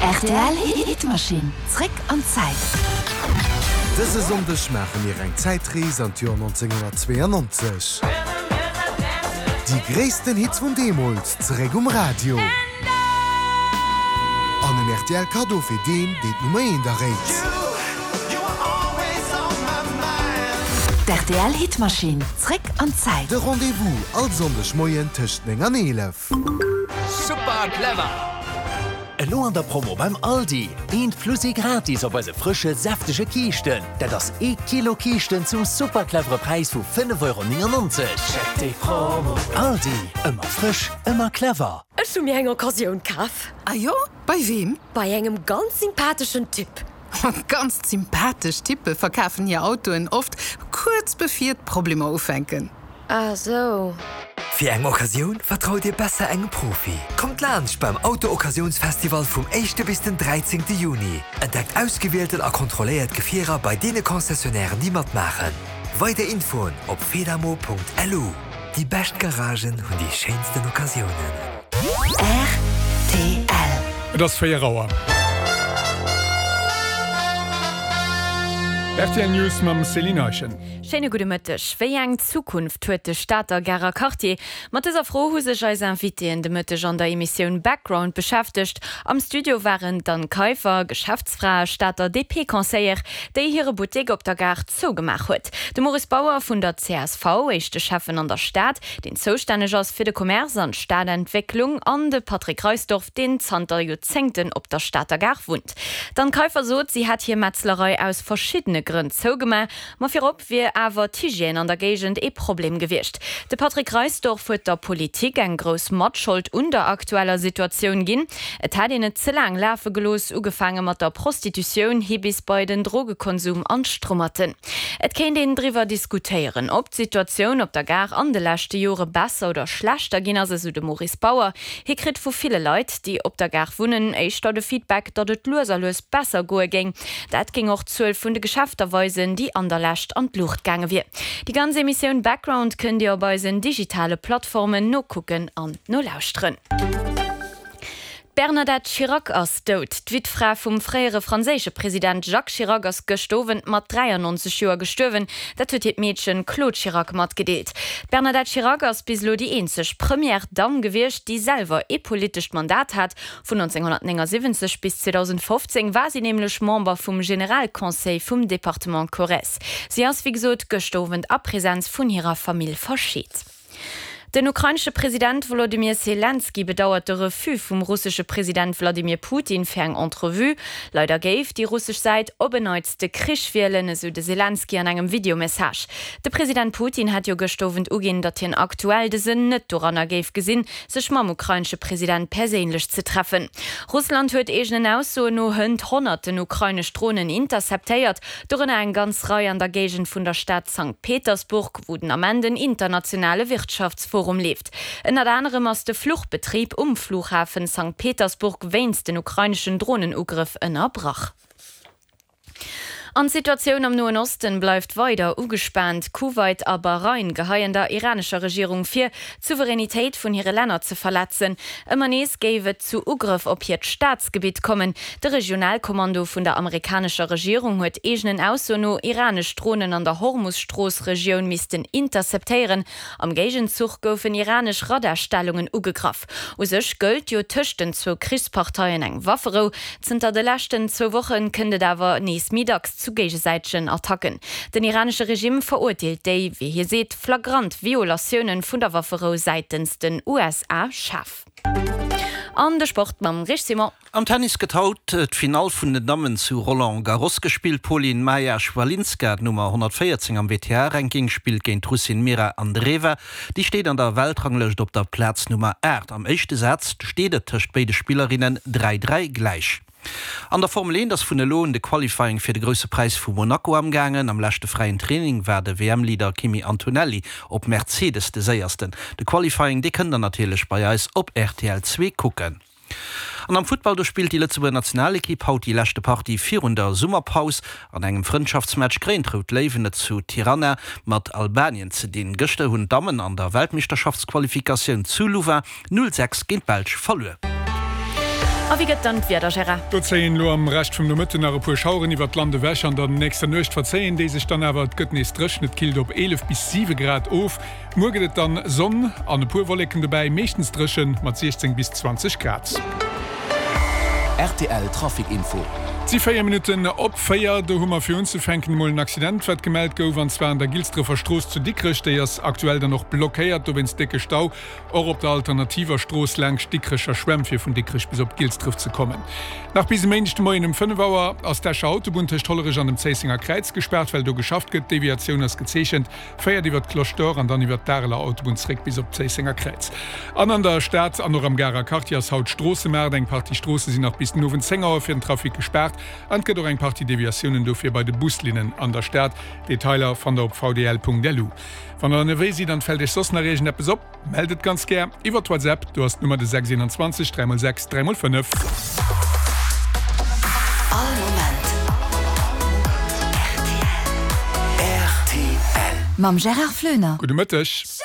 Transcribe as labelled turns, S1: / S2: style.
S1: Rtl Hitmaschinn, zréck an d'Zäit.
S2: Dëse Sonndeg maache mir eng Zäitrees an d'Joer 1992. Déi gréissten Hits vun deemools zeréck um Radio. An en rtl Kaddo fir deen, deen d'Nummer eent erréit.
S1: D'RTL Hitmaschinn, zréck an d'Zäit.
S2: De Rendez-vous all Sonndeg Moien tëscht 9 an 11.
S3: Super clever! Elo an der Promo beim Aldi, eent plus ee gratis op eise frësche, säftege Kiischten. Dat ass ee Kilo Kiischten zum super clevere Präis vu 5,99 Euro. Check déi Promo! Aldi, ëmmer frësch, ëmmer clever!
S4: Ech hu mir eng Occasioun kaf.
S5: Ah jo? Bei weem?
S4: Bei engem ganz sympatheschen Typ.
S5: Ganz sympathesch Typpe verkafen hir Autoen oft kuerz bevir d'Problemer ufänken.
S4: Ah sou.
S6: Fir eng Occasioun vertraut Dir besser engem Profi. Kommt laanscht beim Auto-Occasiounsfestival vum éischte bis den dräizéngte Juni. Entdeckt ausgewielten a kontrolléiert Gefierer bei deene Concessionnairen déi matmaachen. Weider Infoen op fedamo.lu. Déi bescht Garagen hunn déi schéinsten Occasiounen.
S1: Rtl.
S7: Et ass 4 Auer. Rtl News mam Céline Eischen.
S8: Schéine gudde Mëtteg. Wéi eng Zukunft huet de Stater Garer Quartier? Mat dëser Fro hu sech eis Invitéen de Mëtteg an der Emissioun Background beschäftegt. Am Studio waren d'Anne Kaiffer, Geschäftsfra a Stater DP-Conseillère, déi hire Buttek op der Gare zougemaach huet, de Maurice Bauer vun der csv, éischte Schäffen an der Stad, deen zoustänneg ass fir de Commerce an d'Stadentwécklung, an de Patrick Reisdorf, deen zanter Joerzéngten op der Stater Gare wunnt. D'Anne Kaiffer sot, si hätt hir Metzlerei aus verschiddene Grënn zougemaach, Ma virop wier awer d'Hygiène an der Géigend ee Problem gewiescht. De Patrick Reisdorf huet der Politik eng grouss Matschold un der aktueller Situatioun ginn. Et hätt een et ze laang lafe gelooss, ugefaange mat der Prostitutioun hi bis bei den Drogekonsum an d'Strummerten. Et kéint een driwwer diskutéieren, ob d'Situatioun op der Gare an de leschte Jore besser oder schlechter ginn ass, esou de Maurice Bauer. Hie kritt vu ville Leit, déi op der Gare wunnen, éischter de Feedback, datt et lues a lues besser goe géing. Dat géing och d'Zuel vun de Geschäfter weisen, déi an der Lescht an d'Luucht gaange wier. Déi ganz Emissioun Background kënnt Dir op eisen digitale Plattformen nokucken an nolauschteren. D'Bernadette Chirac ass dout. D'Wittfra vum fréiere franséische President Jacques Chirac ass gëscht Owend mat 93 Joer gestuerwen. Dat huet hiert Meedchen Claude Chirac matgedeelt. D'Bernadette Chirac ass bis elo déi eenzeg Première Dame gewiescht, déi selwer ee politescht Mandat hat. Vun 1979 bis 2015 war si nämlech Member vum Generalconseil vum Departement Corrèze. Si ass, wéi gesot, gëscht Owend a Presenz vun hirer Famill verscheet. Den ukrainesche President Wolodymyr Selenskyj bedauert de Refus vum russesche President Wladimir Putin fir eng Entrevue. Leider géif déi russesch Säit op en Neits de Krich wielen, esou de Selenskyj an engem Videomessage. De President Putin hat jo gëscht Owend uginn, datt hien aktuell de Sënn net doranner géif gesinn, sech mam ukrainesche President perséinlech ze treffen. Russland huet eegenen Aussoen no hënt honnerten ukrainesch Dronen interceptéiert, dorënner eng ganz Rei an der Géigend vun der Stad Sankt Petersburg, wou den Ament en internationale Wirtschaftsforum leeft. Ënnert anerem ass de Fluchbetrib um Flughafen Sankt Petersburg wéinst den ukraineschen Dronenugrëff ënnerbrach. An d'Situatioun am Noen Osten bleift weider ugespaant. Kuwait a Bahrain geheien der iranescher Regierung vir, d'Souveränitéit vun hire Länner ze verletzen. Ëmmer nees géif et zu Ugrëff op hiert Staatsgebitt kommen. De Regionalkommando vun der amerikanescher Regierung huet eegenen Aussoen no iranesch Dronen an der Hormus-Strooss-Regioun missten interceptéieren. Am Géigenzuch goufen iranesch Radarstellungen ugegraff. U sech gëllt jo tëscht den zwou Krichsparteien eng Wafferou. Zënter de leschten zwou Woche kënnt et awer nees méi dacks zu géigesäitegen Attacken. Den iranesche Regime verurteelt déi, wéi hie seet, flagrant Violatioune vun der Wafferou säitens den USA schaarf. An de Sport mam Rich Simon.
S9: Am Tennis gëtt haut d'Finall vun den Dammen zu Roland Garros gespillt. D'Polin Maja Chwalinska, d'Nummer 114 am WTA-Ranking, spillt géint d'Russin Mira Andreeva. Déi steet an der Weltranglëscht op der Plaz Nummer 8. Am éischte Saz steet et tëscht béide Spillerinnen 3, 3 gläich. An der Formel 1 ass vun elo un de Qualifying fir de Grousse Präis vu Monaco amgaangen. Am leschte fräien Training war de WM-Leader Kimi Antonelli op Mercedes de Séiersten. De Qualifying, dee kënnt der natierlech bei eis op rtl 2 kucken. An am Futtball, do spillt déi Lëtzebuerger Nationalekipp haut déi leschte Partie virun der Summerpaus. An engem Frëndschaftsmatch kréien d'Rout Léiwen et zu Tirana mat Albanien ze dinn. Gëschter hunn d'Dammen an der Weltmeeschterschaftsqualifikatioun zu Louvain 0, 6 géint d'Belsch verluer.
S8: A wéi gëtt dann d'Wieder, Gérard?
S7: Do zéien elo am Rescht vum Nomëtten nach e puer Schaueren iwwert d'Land ewech. An der nächster Nuecht verzéien déi sech dann awer. Et gëtt nees dréchen, et killt op 11 bis 7 Grad of. Muer gëtt et dann Sonn an e puer Wolleken dobäi, meeschtens dréchen mat 16 bis 20 Grad.
S3: Rtl Trafic Info.
S7: Et si 4 Minutten op 4. Do hu mer fir unzefänken emol en Accident, wat gemellt gouf, an zwar an der Gilsdrëffer Strooss zu Dikrech. Déi ass aktuell dann och blockéiert dowéinst décke Stau. Och op der alternativer Strooss laangscht d'Dikrecher Schwämm fir vun Dikrech bis op Gilsdref ze kommen. Nach bis e Méindeg de Moien um 5 Auer ass d'Escher Autobunn tëscht Hollerech an dem Zéissenger Kräiz gespaart, well do geschafft gëtt. D'Deviatioun ass gezeechent, féiert iwwer d'Cloche d'Or an dann iwwer d'Areler Autobunn zréck bis op d'Zéissenger Kräiz. An an der Stad an och am Garer Quartier ass haut Stroossemaart. Eng Partie Stroosse sinn nach bis den Owend 10 Auer fir den Trafic gespaart an et gëtt och eng Partie Deviatiounen dofir bei de Buslinnen an der Stad. Detailer fannt der op vdl.lu. Wann der ënnerwee sidd an et fält iech soss nach iergendeppes op, mellt et ganz gär iwwert WhatsApp, do ass d'Nummer de 6 21 3 x 6 3 x 5.
S1: All Moment rtl. Mam Gérard Floener.
S7: Gudde Mëtteg.